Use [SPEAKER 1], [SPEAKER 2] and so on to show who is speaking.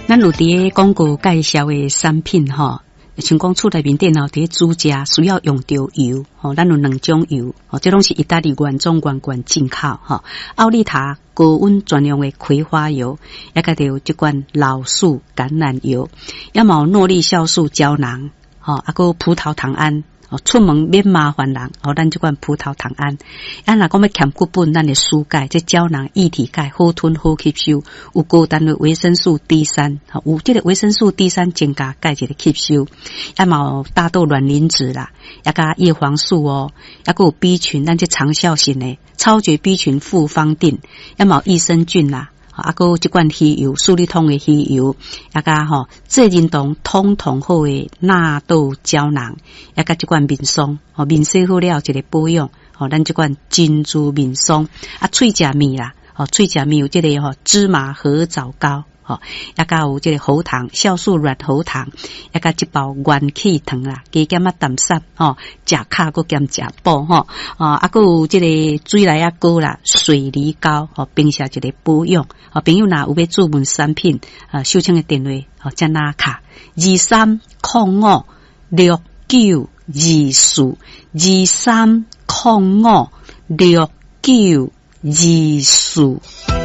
[SPEAKER 1] 咱有佇个廣告介紹的產品吼，像講厝內面電腦佇咧煮食需要用著油，吼，咱有兩種油，吼，這攏是意大利原裝原罐進口，吼，奧利塔高溫專用的葵花油，也佮著這款老樹橄欖油，也嘛有諾麗酵素膠囊，吼，啊閣葡萄糖胺。哦，出門免麻煩人，哦，咱這款葡萄糖胺。啊，若講欲添骨本，咱的舒鈣，這膠囊液體鈣好吞好吸收，有高單位維生素 D3，有這个維生素 D 三增加鈣一个吸收。啊，嘛有大豆卵磷脂啦，也佮葉黃素哦，也閣有 B 群，咱這長效型的超絕 B 群複方錠，也嘛有益生菌啦。啊，閣有這款魚油，舒利通的魚油，也佮吼濟仁堂通通好的納豆膠囊，也佮這款面霜，吼面洗好了一个保養，吼咱這款珍珠面霜，啊，喙食麵啦，吼喙食麵有這个吼芝麻褐藻膏，吼，也佮有這个喉糖酵素軟喉糖，也佮這包元氣糖啦，加減仔淡散，吼，食較閣兼食補吼，啊，閣有這個水梨仔膏啦，水梨膏，吼，平時一个保養，吼，朋友若有欲注文產品，啊，秀清的電話，吼，遮若敲23056924，23056924。